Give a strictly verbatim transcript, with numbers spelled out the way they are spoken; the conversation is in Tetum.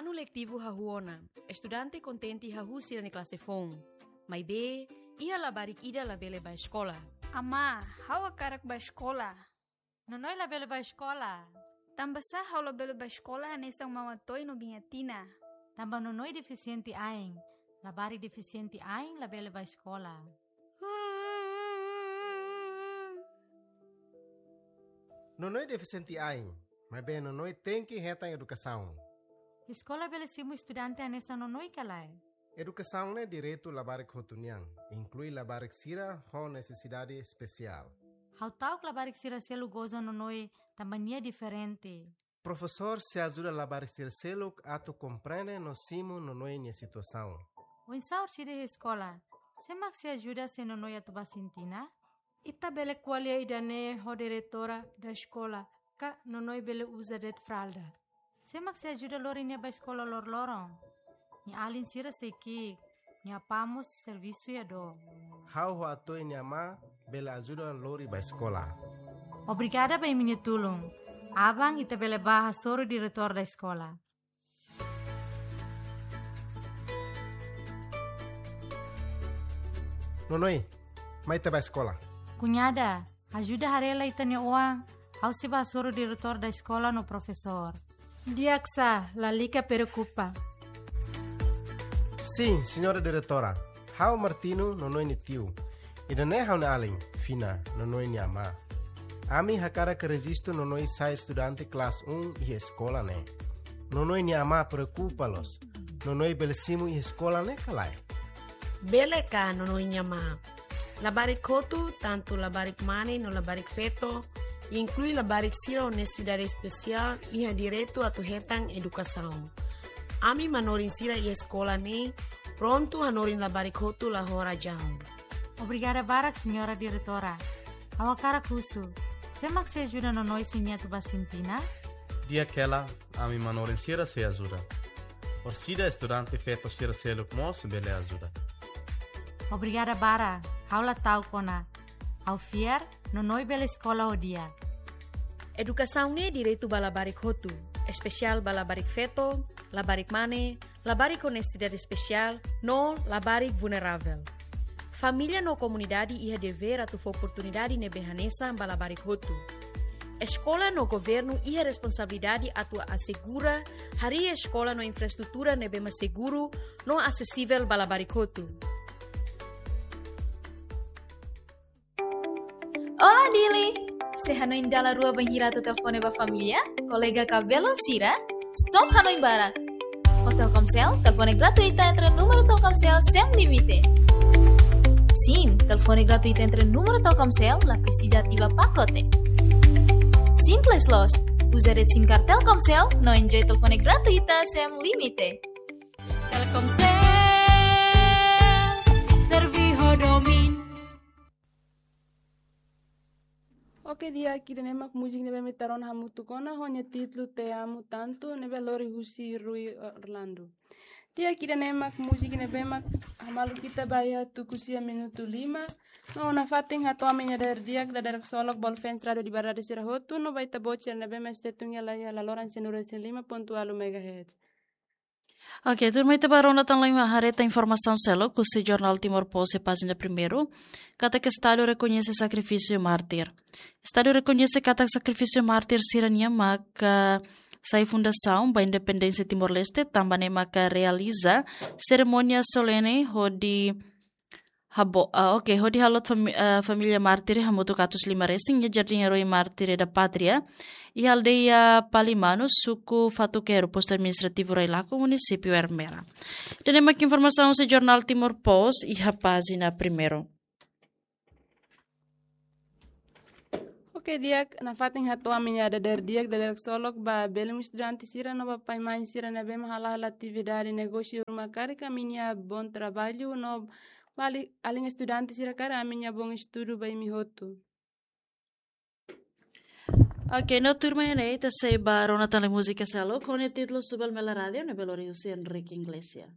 Anu letivu hahú ona, estudante kontente hahú sira-nia klase foun. Maibé, iha labarik ida labele bá eskola. Amá, ha'u hakarak bá eskola. Nonoi labele bá eskola. Tanbasá ha'u labele bá eskola hanesan Mama Toy no Biña Tina? Tanba Nonoi defisiente ain. Labarik defisiente ain labele bá eskola. Nonoi defisiente ain, maibé Nonoi tenke hetan edukasaun. Eskola bele simu estudante hanesan Nonoi ka lae? Edukasaun ne'e direitu labarik hotu nian, inklui labarik sira ho nesesidade espesiál. Ha'u ta'uk labarik sira seluk goza Nonoi tanba nia diferente. Profesór sei ajuda labarik sira seluk atu komprende no simu Nonoi nia situasaun. Oinsá orsida iha eskola? Sé mak sei ajuda se Nonoi atu bá sintina? Ita bele ko'alia ida-ne'e ho diretora da eskola, ka Nonoi bele uza de'it fralda. Sé mak sei ajuda lori nia bá eskola loroloron? Nia alin sira sei ki'ik, nia apá mós servisu iha dook. Ha'u ho Atoy nia amá bele ajuda lori bá eskola. Obrigada ba imi-nia tulun. Aban ita bele bá hasoru diretór da eskola. Nonoi, mai ita bá eskola. Kuñada, ajuda haree lai ita-nia oan, ha'u sei bá hasoru diretór da eskola no profesór. Di'ak sá, lalika preokupa. Sin, señora diretora, ha'u Martino, Nonoi nia tiu. Ida-ne'e ha'u-nia alin, Fina, Nonoi nia amá. Ami hakarak rejistu Nonoi sai estudante klase um iha eskola ne'e. Nonoi nia amá preokupa loos. Nonoi bele simu iha eskola ne'e ka lae? Bele ka, Nonoi nia amá. Labarik hotu, tantu labarik mane no labarik feto, inklui labarik sira ho nesesidade espesiál, iha direitu atu hetan edukasaun. Ami manorin sira iha eskola ne'e prontu hanorin labarik hotu la ho razaun. Obrigada barak, señora diretora. Ha'u hakarak husu, sé mak sei ajuda Nonoi se nia atu bá sintina? Di'ak hela, ami manorin sira sei ajuda. Orsida estudante feto sira seluk mós bele ajuda. Obrigada barak, ha'u la ta'uk ona. Ha'u fiar, Nonoi bele eskola ho di'ak. Edukasaun ne'e direitu ba labarik hotu, espesiál ba labarik feto, labarik mane, labarik ho nesesidade espesiál, no labarik vulneravel. Família no komunidade iha devér atu fó oportunidade ne'ebé hanesan ba labarik hotu. Eskola no governu iha responsabilidade atu asegura harii eskola no infraestrutura ne'ebé mak seguru no asesivel ba labarik hotu. Olá, Dili! Sei hanoin dala rua bainhira atu telefone ba família, kolega ka belun sira? Stop hanoin barak. Ho Telkomsel, telefone gratuita entre númeru Telkomsel sem limite. Sin, telefone gratuita entre númeru Telkomsel la presiza ativa pakote. Simples loos, uza de'it SIM card Telkomsel no enjoy telefone gratuita sem limite. Telkomsel, servi ho domin. Oke, di'ak, ida-ne'e mak múzika ne'ebé ita rona hamutuk ona, ho nia títulu Te Amo Tanto, ne'ebé lori husi Rui Orlando. Di'ak, ida-ne'e mak múzika ne'ebé mak hamalu ita ba iha tuku sia minutu lima. No nafatin hato'o ami-nia dadeer-di'ak, dadeer-solok ba fans Rádio Liberdade sira hotu, no ba ita-boot sira ne'ebé mak stay tune hela iha laloran cento e cinco ponto oito megahertz. Oke, tuirmai ita bá rona tan lai mak haree tan informasaun seluk husi jornál Timor Post iha pájina primeiru, katak Estadu rekoñese sakrifísiu mártir. Estadu rekoñese katak sakrifísiu mártir sira-nian maka sai fundasaun ba independénsia Timor-Leste, tanba ne'e maka realiza serimónia solene hodi habo-, ah, oke, hodi halot fami-, ah, família mártir hamutuk atus lima resin iha Jardín Herói Mártir da Pátria, iha aldeia Palimanu, suku Fatuquero, postu administrativu Railaco, munisípiu Ermera. Ida-ne'e mak informasaun husi jornál Timor Post iha pájina primeiru. Oke, di'ak, nafatin hato'o ami-nia dadeer-di'ak, dadeer-solok ba belun estudante sira no ba pai-mãe sira ne'ebé mak hala'o hela atividade negósiu ruma karik ami-nia bom trabalho no ba alin, alin estudante sira karik ami-nia bom estudu ba imi hotu. Oke, no tuirmai ne'e ita sei bá rona tan lai múzika seluk ho nia títulu Suba Mela Rádio, ne'ebé lori husi Enrique Iglesias.